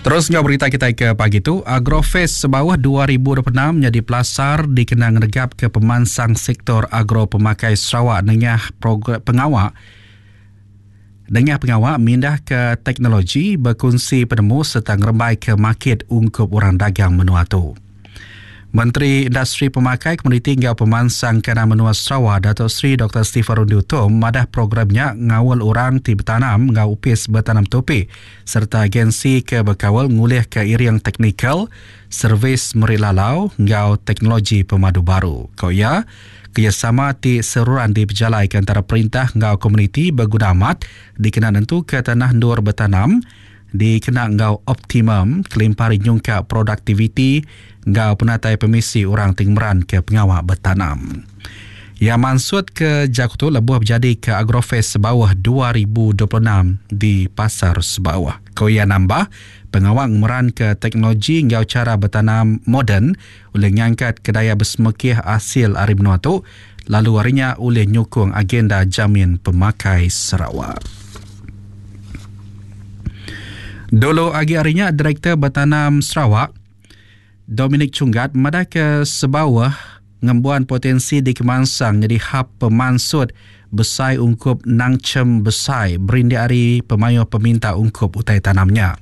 Terus enggau berita kitai ke pagi tu, Agrofest Sebauh 2026 nyadi pelasar dikena ngenegapka pemansang sektor agro pemakai Sarawak nengah program pengawa nengah pengawa mindahka teknologi, bekunsi penemu sereta ngerembaika makit ungkup orang dagang menua tu. Menteri Industri Pemakai, Komoditi enggau Pemansang Kandang Menua Sarawak Dato Sri Doktor Stephen Rundi Utom madah program nya ngaul orang ti betanam enggau Opis Betanam Tupi sereta agensi ke bekaul ngulihka iring teknikal, servis meri lalau enggau teknologi pemadu baru. Ku iya, kerejasama ti seruran dipejalaika entara perintah enggau komuniti beguna amat dikena nentuka tanah endur betanam dikena enggau optimum kelimpah ari nyungkak produktiviti enggau penatai pemisi orang ti ngemeranka pengawa betanam. Iya mansutka jaku tu lebuh bejadika Agrofest Sebauh 2026 di Pasar Sebauh. Ku iya nambah, pengawa ngemeranka teknologi enggau chara betanam moden ulih ngangkatka daya besemekih asil ari menua tu lalu ari nya ulih nyukung agenda jamin pemakai Sarawak. Dulu agi ari nya, Direktor Betanam Sarawak, Dominic Chunggat madahka Sebauh ngembuan potensi dikemansang nyadi hub pemansut besai ungkup nangchem besai berindik ari pemayuh peminta ungkup utai tanam nya.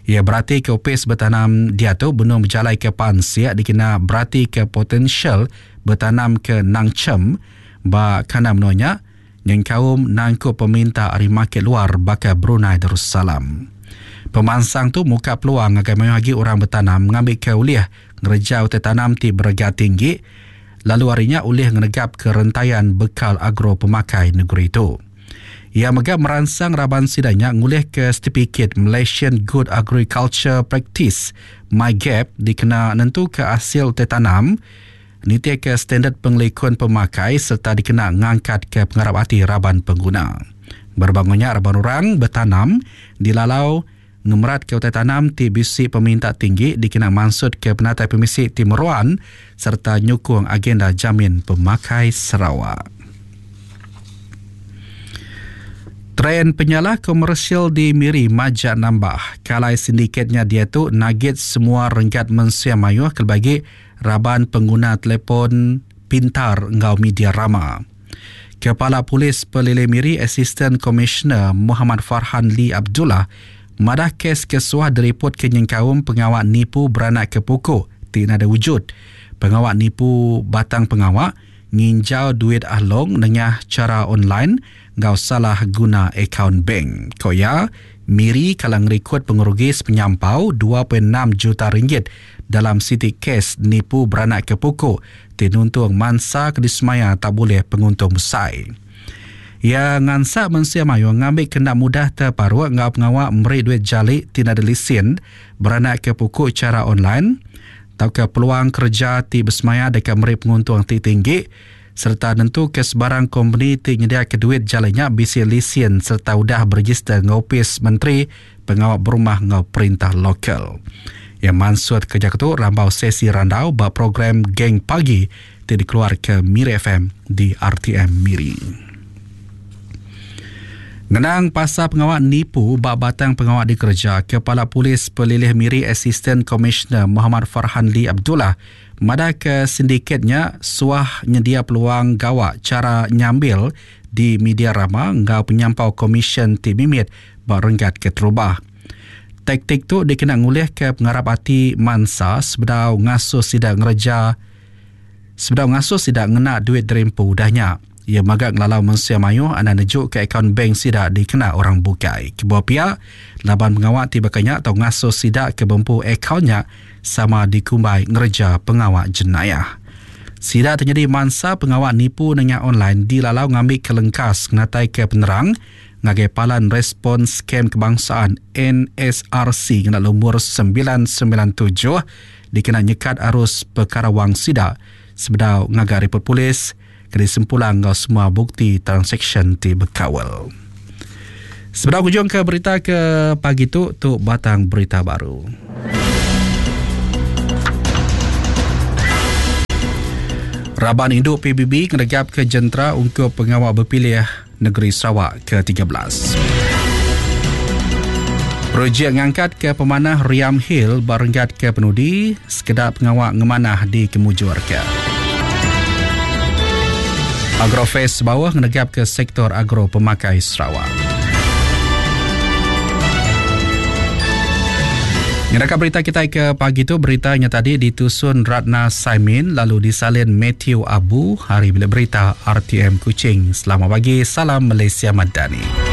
Iya beratika opis betanam diatu benung bejalaika pansik dikena beratika potensial betanam ke nangchem ba kandang menua nya nyengkaum nangkup peminta ari makit luar baka Brunei Darussalam. Pemansang tu muka peluang ngagai mayuh agi orang betanam ngambika ulih ngereja utai tanam ti berega tinggi lalu ari nya ulih ngenegapka rentayan bekal agro pemakai negeri tu. Iya mega meransang raban sida nya ngulihka setipikit Malaysian Good Agriculture Practice, MyGAP, dikena nentuka asil utai tanam nitihka standard pengelikun pemakai sereta dikena ngangkatka pengarap ati raban pengguna. Berebak enggau nya, raban orang betanam dilalau ngemeratka utai tanam ti bisi peminta tinggi dikena mansutka penatai pemisi ti meruan sereta nyukung agenda jamin pemakai Sarawak. Trend penyalah komersial di Miri majak nambah. Kalai sindiket nya diatu nagit semua renggat mensia mayuh kelebih agi raban pengguna telefon pintar enggau media rama. Kepala Polis Pelilih Miri Asisten Komisioner Muhammad Farhan Lee Abdullah madah kes ke suah diripotka nyengkaum pengawa nipu beranakka puku ti nadai wujud, pengawa nipu batang pengawa, nginjau duit ah long nengah chara online enggau salah guna akaun bank. Ku iya, Miri kala ngerikod pengerugi sepenyampau 2.6 juta ringgit dalam siti kes nipu beranakka puku ti nuntung mansa ke disemaya tau bulih penguntung besai. Iya ngansak mensia mayuh ngambika enda mudah teparuk enggau pengawa meri duit jali ti nadai lisin beranakka puku chara online tauka peluang kereja ti besemaya deka meri penguntung ti tinggi sereta nentuka sebarang kompeni ti nyediaka duit jali nya bisi lisin sereta udah berejister enggau Opis Menteri Pengawa Berumah enggau Perintah Lokal. Iya mansutka jaku tu rambau sesi randau ba program Geng Pagi ti dikeluarka Miri FM di RTM Miri. Ngenang pasal pengawa nipu ba batang pengawa dikereja, Kepala Polis Pelilih Miri Asisten Komisioner Muhammad Farhan Lee Abdullah madahka sindiket nya suah nyedia peluang gawa chara nyambil di media rama enggau penyampau komisyen ti mimit ba renggat keterubah. Taktik tu dikena ngulihka pengarap ati mansa sebedau ngasuh sida ngereja sebedau ngasuh sida ngena duit diri empu udah nya. Iya mega ngelalau mensia mayuh anang nejuka akaun bank sida dikena orang bukai. Kebuah pia, laban pengawa ti baka nya tau ngasuh sida ke bempu akaun nya sama dikumbai ngereja pengawa jenayah. Sida ti nyadi mansa pengawa nipu nengah online dilalau ngambika lengkas ngenataika penerang ngagai Palan Respons Scam Kebangsaan, NSRC, ngena lumur 997 dikena nyekat arus pekara wang sida sebedau ngaga ripot polis ke disempulang enggau semua bukti transaksyen ti bekaul. Sebedau ngujungka berita ke pagi tu, tu batang berita baru. Raban indu PBB ngenegapka jentera ungkup pengawa bepilih Negeri Sarawak ke 13. Projek ngangkatka pemanah Riam Hill ba renggat ke penudi sekeda pengawa ngemanah dikemujurka. Agrofest Bauh ngenegapka sektor agro pemakai Sarawak. Ngeraka berita kitai ke pagi tu berita nya tadi ditusun Ratna Saimin lalu disalin Matthew Abu hari bilik berita RTM Kuching. Selamat pagi, salam Malaysia Madani.